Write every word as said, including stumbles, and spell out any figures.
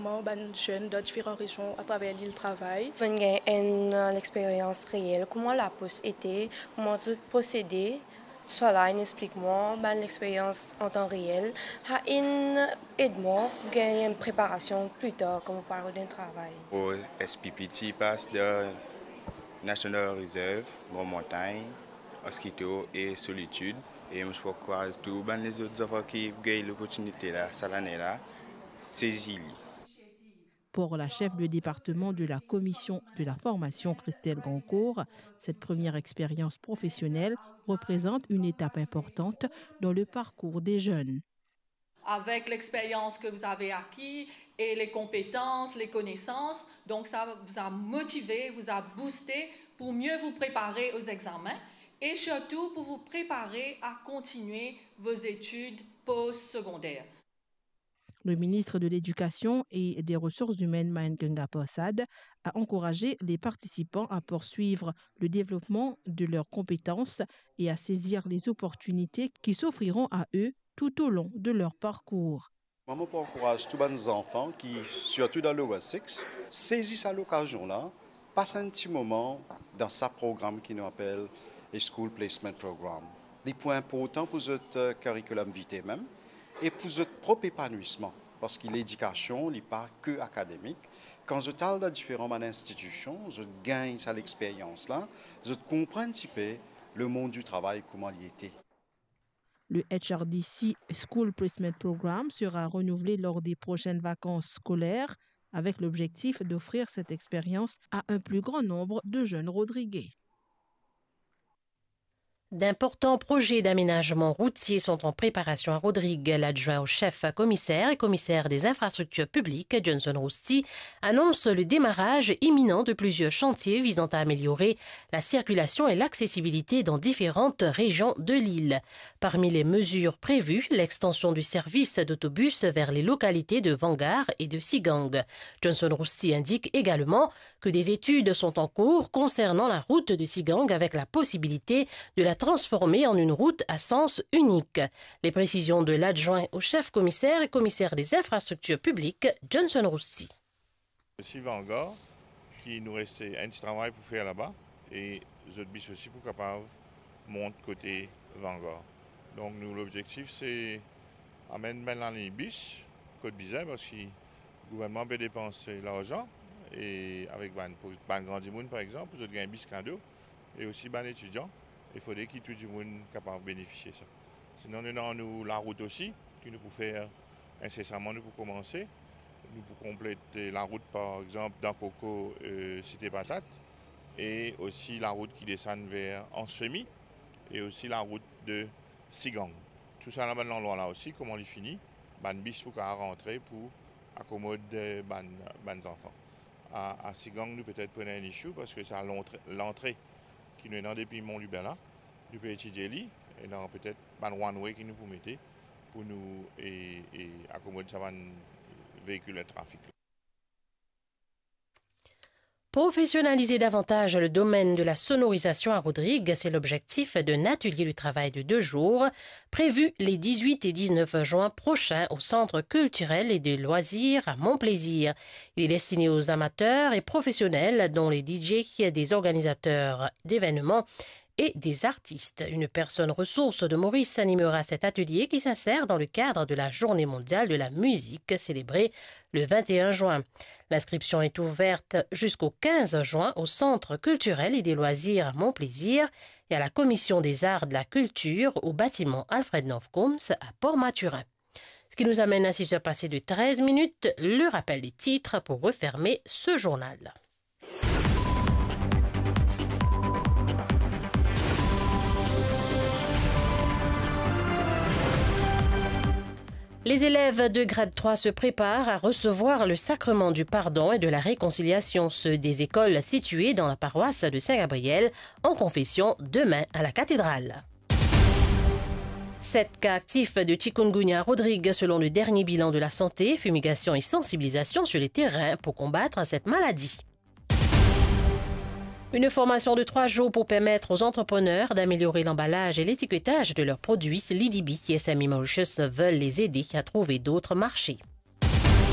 Kouma bann zenn dan diferan rezion atraver lil travay. Mo'nn gagn enn, eh, lexperyans reel, kouma lapos ete, kouma zot prosede, tousala inn explik mwa, bann lexperyans an tan reel, sa inn ed mwa gagn enn preparasion pli tar kan mo pou al rod enn travay. Mo S P P T pass dan National Reserve, Gran Montagn, Mosquito e Solitude. E mo ti pou ankouraz tou bann lezot zanfan ki gagn loportinite la, sa lane la, sezi li. Pour la chef de département de la Commission de la formation, Christelle Grandcourt, cette première expérience professionnelle représente une étape importante dans le parcours des jeunes. Avec l'expérience que vous avez acquis et les compétences, les connaissances, donc ça vous a motivé, vous a boosté pour mieux vous préparer aux examens et surtout pour vous préparer à continuer vos études post-secondaires. Le ministre de l'Éducation et des Ressources humaines, Mayank Ganga Persad, a encouragé les participants à poursuivre le développement de leurs compétences et à saisir les opportunités qui s'offriront à eux tout au long de leur parcours. Mwa, mo pou ankouraz tou bann zanfan ki, sirtou dan Lower Six, sezi sa lokazion la, pas enn ti moman dan sa program ki nou apel a School Placement Program. Li pou inportan pou zot, eh, curriculum vitae mem e pou zot prop epanwisman, parski ledikasion, li pa ke akademik. Kan zot al dan diferan bann institision, zot gagn sa lexperyans la, zot konpran enn tipe lemond di travay, kouma li ete. Le H R D C School Placement Program sera renouvelé lors des prochaines vacances scolaires, avec l'objectif d'offrir cette expérience à un plus grand nombre de jeunes Rodriguais. D'importants projets d'aménagement routier sont en préparation à Rodrigues. L'adjoint au chef commissaire et commissaire des infrastructures publiques, Johnson Rousty, annonce le démarrage imminent de plusieurs chantiers visant à améliorer la circulation et l'accessibilité dans différentes régions de l'île. Parmi les mesures prévues, l'extension du service d'autobus vers les localités de Vangar et de Sigang. Johnson Rousty indique également que des études sont en cours concernant la route de Sigang avec la possibilité de la transformer en une route à sens unique. Les précisions de l'adjoint au chef commissaire et commissaire des infrastructures publiques, Johnson Rousty. Osi Vangar, ki nou reste enn ti travay pou fer laba, e zot bis osi pou kapav mont kote Vangar. Donk nou, lobzektif se amenn bann lagn bis kot bizin, parski gouvernman pe depanse larzan, e avek bann, pou bann gran dimoun, par exanp, pou zot gagn bis kado, e osi bann etidian, e fode ki tou dimoun kapav benefisie sa. Sinon, nou ena nou larout osi, ki nou pou fer insesaman, nou pou koumanse. Nou pou konplet, eh, larout, par exanp, dan Koko, eh, Site Patat, e osi larout ki desann ver Anse Feumy, e osi larout de Sigang. Tou sa, bann landrwa la osi, kouma li fini, bann bis pou kapav rantre pou akomod, eh, bann, bann zanfan. A, a Sigang, nou petet pou ena enn issue, parski sa lantre, lantre ki nou ena depi Mont Lubin la, nou pe etidie li, ena petet bann one way ki nou pou mete pou nou, e, e akomod sa bann veikil trafik. Professionnaliser davantage le domaine de la sonorisation à Rodrigues, c'est l'objectif d'un atelier de travail de deux jours prévu les dix-huit et dix-neuf juin prochains au Centre culturel et de loisirs à Mon Plaisir. Il est destiné aux amateurs et professionnels, dont les D J, des organisateurs d'événements et des artistes. Une personne ressource de Maurice animera cet atelier qui s'insère dans le cadre de la Journée mondiale de la musique célébrée le vingt et un juin. L'inscription est ouverte jusqu'au quinze juin au Centre culturel et des loisirs à Mon Plaisir et à la Commission des arts de la culture au bâtiment Alfred North Combs à Port-Mathurin. Ce qui nous amène à six heures passées de treize minutes, le rappel des titres pour refermer ce journal. Les élèves de grade trois se préparent à recevoir le sacrement du pardon et de la réconciliation, ceux des écoles situées dans la paroisse de Saint-Gabriel en confession demain à la cathédrale. Sept cas actifs de chikungunya à Rodrigues selon le dernier bilan de la santé, fumigation et sensibilisation sur les terrains pour combattre cette maladie. Une formation de trois jours pour permettre aux entrepreneurs d'améliorer l'emballage et l'étiquetage de leurs produits. L'I D B et S M E Mauritius veulent les aider à trouver d'autres marchés.